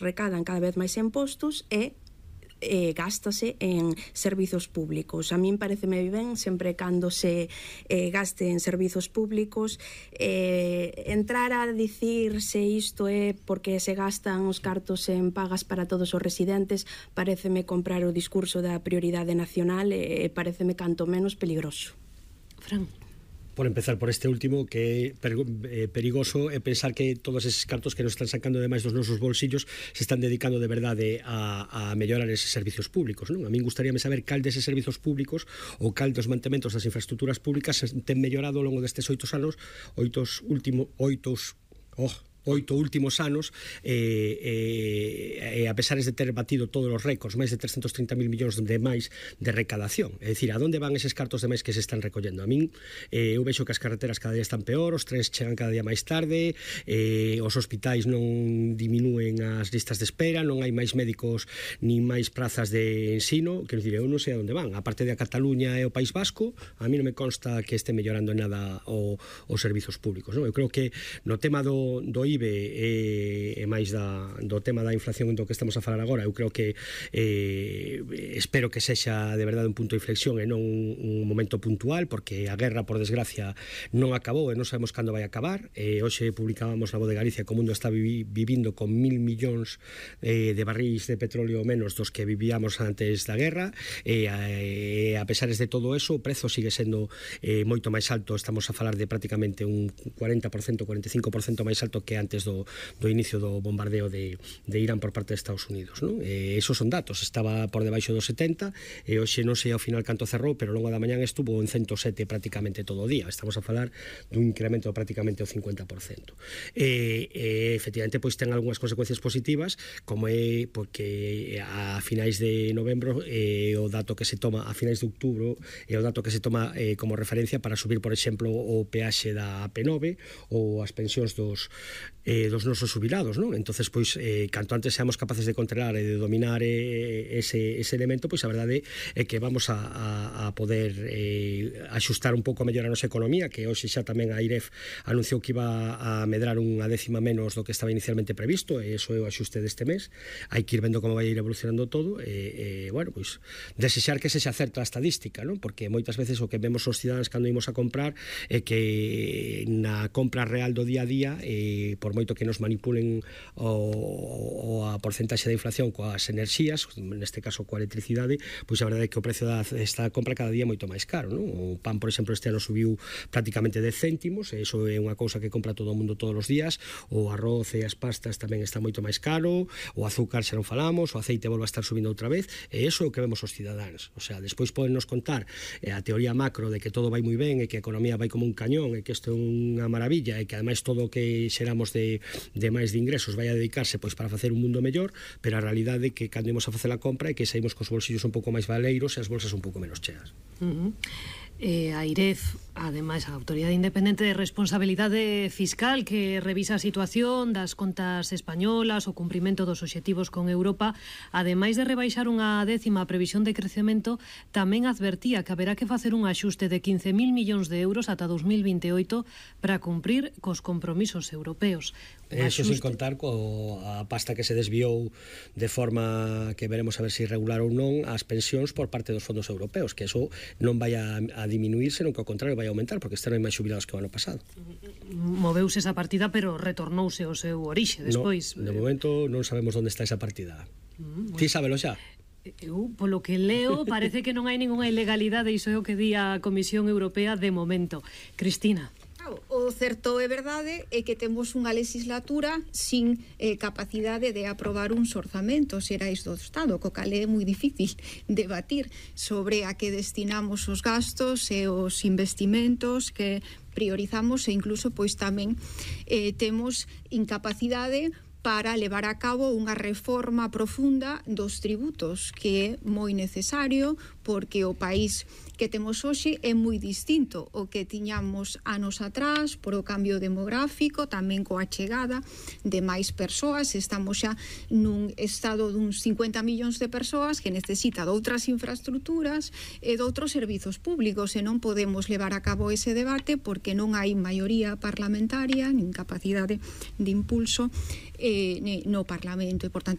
recadan cada vez máis impostos e gástase en servizos públicos. A min pareceme ben sempre cando se gaste en servizos públicos. Entrar a dicir se isto é porque se gastan os cartos en pagas para todos os residentes pareceme comprar o discurso da prioridade nacional e pareceme canto menos peligroso. Fran. Por empezar por este último, que é perigoso é pensar que todos eses cartos que nos están sacando ademais dos nosos bolsillos se están dedicando de verdade a mellorar eses servizos públicos, non? A min gustaríame saber cal deses servizos públicos ou cal dos mantementos das infraestructuras públicas ten mellorado ao longo destes 8 últimos anos a pesar de ter batido todos os récords, máis de 330.000 millóns de máis de recadación. É dicir, a onde van eses cartos de máis que se están recollendo? A min, eu vexo que as carreteras cada día están peor, os trens chegan cada día máis tarde, os hospitais non diminúen as listas de espera, non hai máis médicos ni máis prazas de ensino. Quero dicir, eu non sei a onde van. A parte de a Cataluña e o País Vasco, a mí non me consta que este mellorando en nada os servizos públicos, non? Eu creo que no tema do IBE e máis do tema da inflación do que estamos a falar agora, eu creo que espero que sexa de verdade un punto de inflexión e non un momento puntual, porque a guerra, por desgracia, non acabou e non sabemos cando vai acabar. Hoxe publicábamos na Voz de Galicia que o mundo está vivindo con 1.000 millóns de barrís de petróleo menos dos que vivíamos antes da guerra, e a pesar de todo eso, o prezo sigue sendo moito máis alto. Estamos a falar de prácticamente un 40%, 45% máis alto que antes do inicio do bombardeo de Irán por parte de Estados Unidos, non? Esos son datos, estaba por debaixo dos 70 e hoxe non sei ao final canto cerrou, pero ao longo da mañán estuvo en 107 prácticamente todo o día. Estamos a falar dun incremento prácticamente o 50%. Efectivamente, pois ten algunhas consecuencias positivas, como é porque a finais de novembro o dato que se toma a finais de outubro é o dato que se toma como referencia para subir, por exemplo, o peaxe da AP9 ou as pensións dos nosos jubilados, non? Entonces, pois, canto antes seamos capaces de controlar e de dominar ese elemento, pois a verdade é que vamos a poder axustar un pouco mellor a nosa economía, que hoxe xa tamén a IREF anunciou que iba a medrar unha décima menos do que estaba inicialmente previsto, e iso é o axuste deste mes. Hai que ir vendo como vai ir evolucionando todo, bueno, pois, desexar que sexa certa a estadística, non? Porque moitas veces o que vemos os cidadáns cando imos a comprar é que na compra real do día a día, por moito que nos manipulen a porcentaxe de inflación coas enerxías, neste caso coa electricidade, pois a verdade é que o precio desta compra cada día é moito máis caro, non? O pan, por exemplo, este ano subiu prácticamente 10 céntimos, e iso é unha cousa que compra todo o mundo todos os días. O arroz e as pastas tamén está moito máis caro, o azúcar xa non falamos, o aceite volve a estar subindo outra vez, e iso é o que vemos os cidadáns. O sea, despois podennos contar a teoría macro de que todo vai moi ben e que a economía vai como un cañón e que isto é unha maravilla e que ademais todo o que xeramos de máis de ingresos vai a dedicarse pois para facer un mundo mellor, pero a realidade é que cando imos a facer a compra é que saímos cos bolsillos un pouco máis valeiros e as bolsas un pouco menos cheas. A IREF, ademais, a Autoridade Independente de Responsabilidade Fiscal, que revisa a situación das contas españolas, o cumprimento dos obxectivos con Europa, ademais de rebaixar unha décima previsión de crecemento, tamén advertía que haberá que facer un axuste de 15.000 millóns de euros ata 2028 para cumprir cos compromisos europeos. Eso sin contar coa pasta que se desviou de forma que veremos a ver se irregular ou non as pensións por parte dos fondos europeos, que eso non vai a diminuir, senón que ao contrario vai a aumentar, porque este ano hai máis xubilados que o ano pasado. Moveuse esa partida, pero retornouse ao seu orixe despois. No, de momento non sabemos onde está esa partida. Ti sábelo xa? Eu, polo que leo, parece que non hai ninguna ilegalidade, iso é o que di a Comisión Europea de momento. Cristina. O certo é verdade é que temos unha legislatura sin capacidade de aprobar uns orzamentos xerais do Estado, co cal é moi difícil debatir sobre a que destinamos os gastos e os investimentos que priorizamos, e incluso pois tamén temos incapacidade para levar a cabo unha reforma profunda dos tributos, que é moi necesario porque o país que temos hoxe é moi distinto o que tiñamos anos atrás por o cambio demográfico, tamén coa chegada de máis persoas. Estamos xa nun estado duns 50 millóns de persoas que necesita de outras infraestructuras e de outros servizos públicos, e non podemos levar a cabo ese debate porque non hai maioría parlamentaria nin capacidade de impulso no Parlamento, e, por tanto,